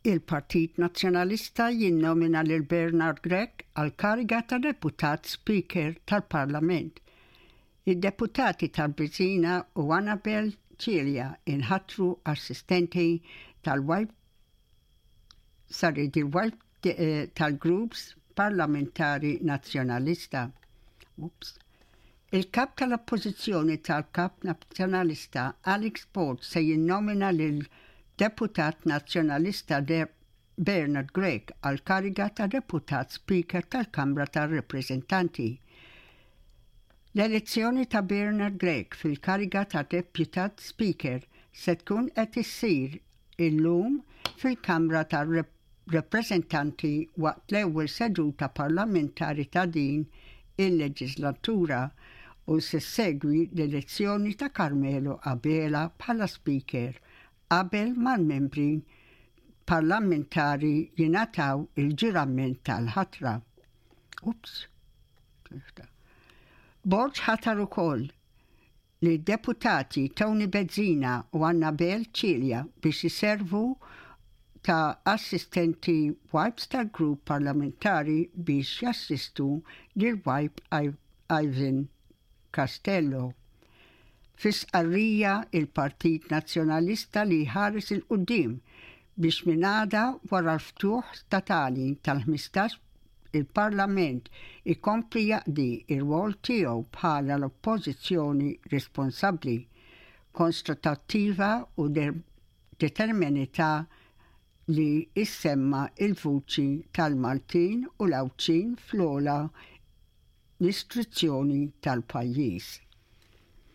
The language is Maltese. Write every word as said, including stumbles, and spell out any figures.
Il-Partit Nazzjonalista jinnomina lil Bernard Grech għal kariga ta' Deputat Speaker tal-Parlament. Id-deputati tal-Bezzina u Annabel Cilia inħatru assistenti tal-Whip, sorry, il-Whip eh, tal-Groups Parlamentari Nazzjonalista. Oops. Il-kap tal-Oppożizzjoni tal-Kap Nazzjonalista Alex Borg se jinnomina lil deputat nazzjonalista De Bernard Grech għal kariga ta' deputat speaker tal-Kamra tar-Rappreżentanti. L-elezzjoni ta' Bernard Grech fil-kariga ta' deputat speaker se tkun qed issir illum fil-Kamra tar-Rappreżentanti waqt l-ewwel seduta parlamentari ta' din il-leġislatura u se segwi l-elezzjoni ta' Carmelo Abela bħala speaker qabel mal-membri parlamentari jingħataw il-ġurament tal-ħatra. Ups. Borg ħatar ukoll li deputati Tony Bezzina u Annabel Cilia biex jiservu ta' assistenti whips tal-grupp parlamentari biex jassistu lil whip Ivan Castello. Fi stqarrija, il-Partit Nazzjonalista li ħares 'il quddiem biex minn għada, wara l-ftuħ statali tal-ħmistax, il-Parlament ikompli jaqdi ir-rwol tiegħu bħala l-oppożizzjoni responsabbli, konstruttiva u determinata li issemma il-vuċi tal-Maltin u l-Għawdxin fl-ogħla istituzzjoni tal-pajjiż.